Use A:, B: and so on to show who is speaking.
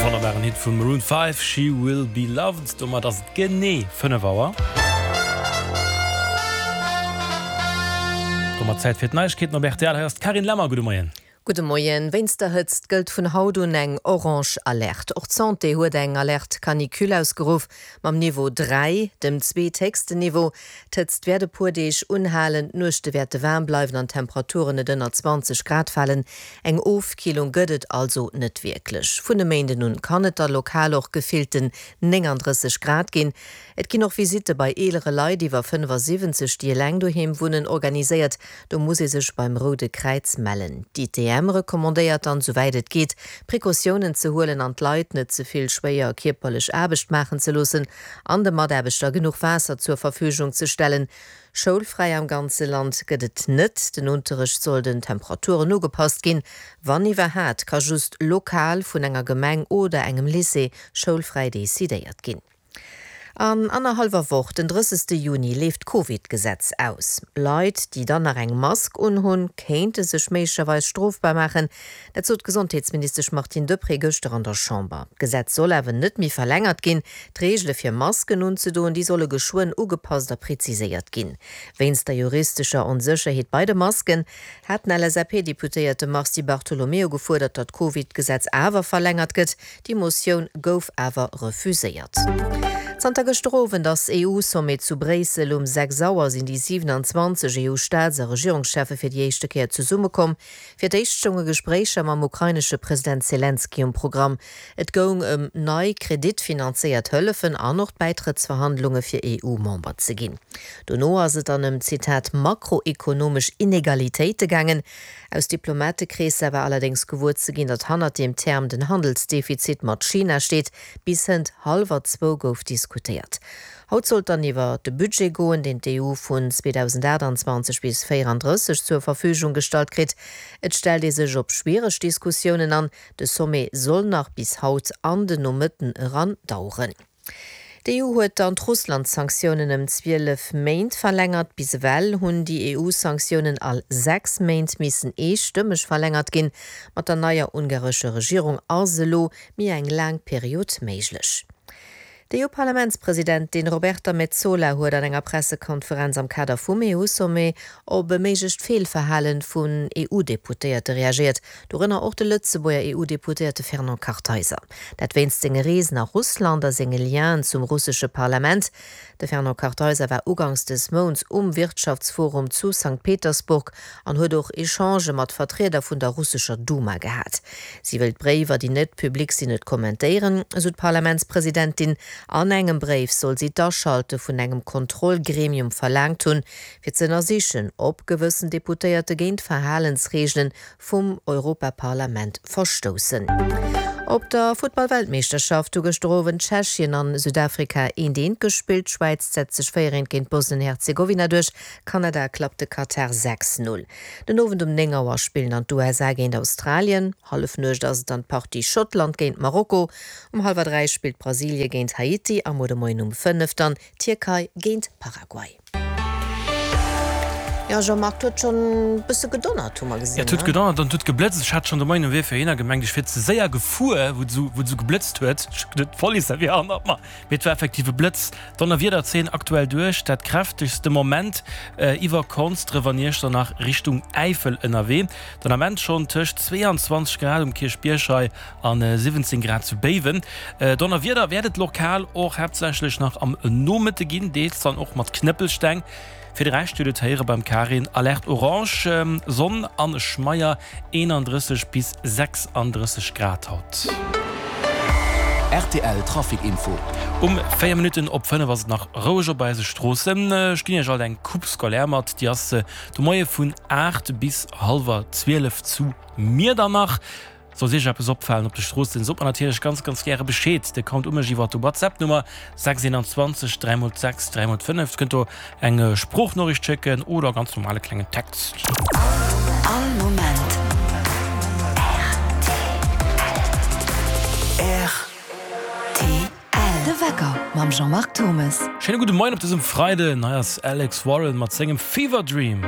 A: Wonnerbaren Hit vu Maroon 5, She Will Be Loved. Domat ass et genee 5 Auer. Domat Zäit fir d'Neiegkeeten op rtl. Hei ass d'Carine Lemmer. Gudde Moien.
B: Gudde Moien. Wéinst der Hëtzt gëllt vun haut un eng orange Alerte. Och d'Santé huet eng Alerte canicule ausgeruff, mam Niveau 3, dem zweethéchsten Niveau. D'Hëtzt wäert e puer Deeg unhalen, d'Nuechte wäerte waarm bleiwen an d'Temperaturen net ënner 20 Grad falen. Eng Ofkillung gëtt et also net wierklech. Vun e Méinden un kann et da lokal och gefillten 39 Grad ginn. Et ginn och Visitte bei eelere Leit iwwer 75, déi eleng doheem wunnen, organiséiert. Do muss ee sech beim Roude Kräiz mellen. D'ITM recommandéiert dann, souwäit et geet, Precautiounen ze huelen an d'Leit net ze vill schwéier kierperlech Aarbecht maachen ze loossen an de Mataarbechter genuch Waasser zur Verfügung ze stellen. Schoulfräi am ganze Land gëtt et net. Den Unterrecht soll den Temperaturen ugepasst ginn. Wann iwwerhat, ka just lokal vun enger Gemeng oder engem Lycée schoulfräi decidéiert ginn. An annerhallwer Woch, den 30. Juni, leeft d'Covid-Gesetz aus. Leit, déi dann nach eng Mask unhunn, kéinte sech méiglecherweis strofbar maachen. Dat sot d'Gesondheetsministesch Martine Deprez gëschter an der Chamber. D'Gesetz soll awer net méi verlängert ginn. D'Reegele fir Masken unzedoen, déi solle geschwënn ugepasst a preziséiert ginn. Wéinst der juristescher Onsécherheet bei de Masken hat den LSAP-Deputéierte Mars Di Bartolomeo gefuerdert, datt d'Covid-Gesetz awer verlängert gëtt. Déi Motioun gouf awer refuséiert. Zanter gëschter Owend ass EU-Sommet zu Bréissel. Um 6 Auer sinn déi 27 EU-Staats a Regierungscheffe fir déi éischte Kéier zesummekomm. Fir d'éischt stounge Gespréicher mam ukrainesche President Selenskyj um Programm. Et goung ëm nei kreditfinanzéiert Hëllefen an och d'Bäitrëttsverhandlunge fir EU-Member ze ginn. Dono ass et dann ëm, Zitat, makroekonomesch Inegalitéite gaangen. Aus Diplomatekreesser war allerdéngs gewuer ze ginn, datt hannert deem Term den Handelsdefizit mat China steet. Bis hënt hallwer zwou gouf diskutéiert. Haut sollt dann iwwer de Budget goen, deen d'EU vun 2028 bis 34 zur Verfügung gestallt kritt. Et stellt ee sech op schwiereg Diskussiounen an. De Sommet soll nach bis haut an den Nomëtten eran daueren. D'EU huet dann d'Russland-Sanktiounen ëm 12 Méint verlängert. Bis ewell hunn déi EU-Sanktiounen all 6 Méint missen eestëmmeg verlängert ginn. Mat der neier ungarescher Regierung ass elo méi eng laang Period méiglech. D'EU-Parlamentspresidentin Roberta Metsola huet an enger Pressekonferenz am Kader vum EU-Sommet op e méiglecht Feelverhalen vun EU-Deputéierte reagéiert. Dorënner och de Lëtzebuerger EU-Deputéierte Fernand Kartheiser. Dat wéinst senge Reesen a Russland a senge Lienen zum russesche Parlament. De Fernand Kartheiser war uganks des Mounts um Wirtschaftsforum zu Sankt Petersburg an huet och Echangë mat Vertrieder vun der russescher Duma gehat. Si wëll d'Bréiwer, déi net public sinn, net kommentéieren, esou d'Parlamentspresidentin. An engem Bréif soll si d'Aschalte vun engem Kontrollgremium verlaangt hunn, fir ze ënnersichen, ob gewëssen Deputéierte géint d'Verhalensreegelen vum Europaparlament verstoussen. Op der Futtball-Weltmeeschterschaft hu gëschter Owend Tschechien an Südafrika eent eent gespillt. D'Schwäiz setzt sech 4 eent géint Bosnien-Herzegowina duerch, Kanada klappt de Katar 6, 0. Den Owend um 9 Auer spillen dann d'USA géint Australien, Hallefnuecht ass et dann d'Partie Schottland géint Marokko, um hallwer 3 spillt Brasilie géint Haiti a muer de Moien um 5 dann Tierkei géint Paraguay. Jo Jean-Marc, 't huet schonn bësse gedonnert, hu mer gesinn,
A: Jo, 't huet gedonnert an 't huet geblëtzt. Ech hat schonn de Moien um Wee fir heihinner gemengt, ech wier ze séier gefuer, wou et esou, wou et esou geblëtzt huet. Ech hu geduet, d'Police wier hannert mer, mee et war effektiv e Blëtz. Donnerwiederzeen aktuell duerch dat kräftegst de Moment iwwer Konsdref an Iechternach Richtung Äifel ënnerwee. Den Ament schonn tëscht 22 Grad um Kierchbierg hei an 17 Grad zu Béiwen. Donnerwieder wäert et lokal och haaptsächlech nach am Nomëtte ginn, deels dann och mat Knëppelsteng. Fir de Rescht huet et héiere beim Karin, Alerte orange, Sonn an Schmeier, 31 bis 36 Grad haut.
C: Rtl Trafic Info.
A: Um 4 Minutten op 5 ass et nach roueg op eise Stroossen. Ech ginn Iech alt eng Coupe scolaire mat, déi ass de Moie vun 8 bis hallwer 12 zu Miedernach. Sollt Iech eppes opfalen op de Stroossen, sot mer natierlech ganz ganz gäre Bescheed. Dir kommt u mech iwwer de WhatsApp Nummer 6 21 3 x 6 3 x 5. Dir kënnt do eng Sproochnoriicht schécken oder ganz normale klengen Text.
C: All Moment rtl. De Wecker mam Jean-Marc Thomes.
A: Schéine gudde Moien op dësem Freiden. Hei ass Alex Warren mat sengem Fever Dream.